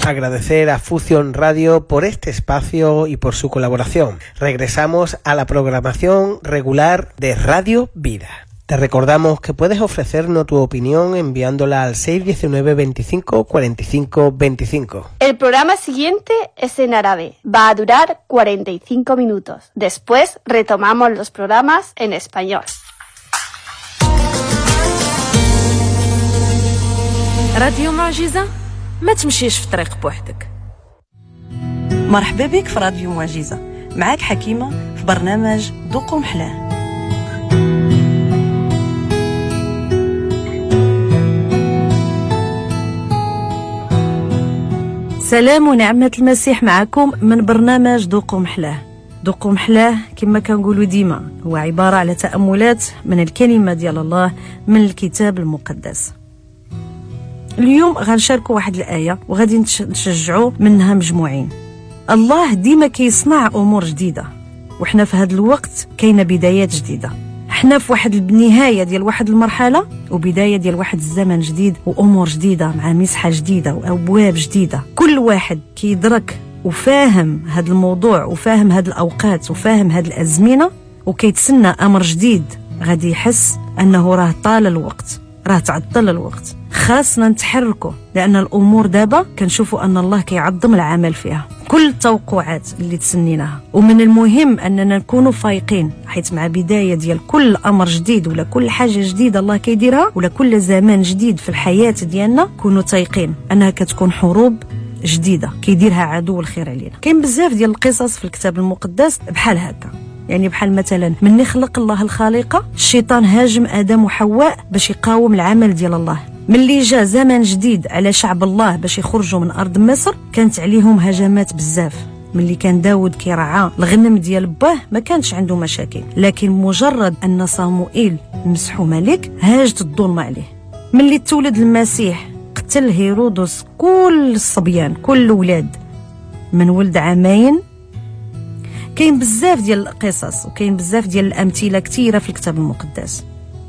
Agradecer a Fusión Radio por este espacio y por su colaboración. Regresamos a la programación regular de Radio Vida. Te recordamos que puedes ofrecernos tu opinión enviándola al 619 25 45 25. El programa siguiente es en árabe. Va a durar 45 minutos. Después retomamos los programas en español. راديو معجزة، ما تمشيش في طريق بوحدك. مرحبا بك في راديو معجزة، معاك حكيمة في برنامج ذوقوا محلاه. سلام ونعمة المسيح معكم من برنامج ذوقوا محلاه. ذوقوا محلاه كما كنقولوا ديما هو عبارة على تأملات من الكلمة ديال الله من الكتاب المقدس. اليوم غنشاركوا واحد الآية وغادي نشجعوا منها مجموعين. الله ديما كيصنع أمور جديدة، وحنا في هذا الوقت كاينة بدايات جديدة. حنا في واحد النهاية ديال واحد المرحلة وبداية ديال واحد الزمن جديد وأمور جديدة مع مسحة جديدة وأبواب جديدة. كل واحد كيدرك وفاهم هذا الموضوع وفاهم هذه الأوقات وفاهم هذه الأزمنة وكيتسنى أمر جديد، غادي يحس أنه راه طال الوقت، راه تعطل الوقت، خاصنا نتحركوا، لأن الأمور دابا كنشوفوا أن الله كيعظم العمل فيها كل التوقعات اللي تسنيناها. ومن المهم أننا نكونوا فايقين، حيث مع بداية ديال كل أمر جديد ولا كل حاجة جديدة الله كيديرها ولا كل زمان جديد في الحياة ديالنا، كونوا تايقين أنها كتكون حروب جديدة كيديرها عدو الخير علينا. كاين بزاف ديال القصص في الكتاب المقدس بحال هكا، يعني بحال مثلا من خلق الله الخالقة، الشيطان هاجم آدم وحواء باش يقاوم العمل ديال الله. ملي جا زمن جديد على شعب الله باش يخرجوا من أرض مصر، كانت عليهم هجمات بزاف. ملي كان داود كيرعى الغنم ديال باه ما كانش عنده مشاكل، لكن مجرد أن صاموئيل مسحو ملك هاجت الظلمة عليه. ملي تولد المسيح قتل هيرودس كل الصبيان، كل الأولاد من ولد عامين. كاين بزاف ديال القصص وكاين بزاف ديال الأمثلة كثيرة في الكتاب المقدس.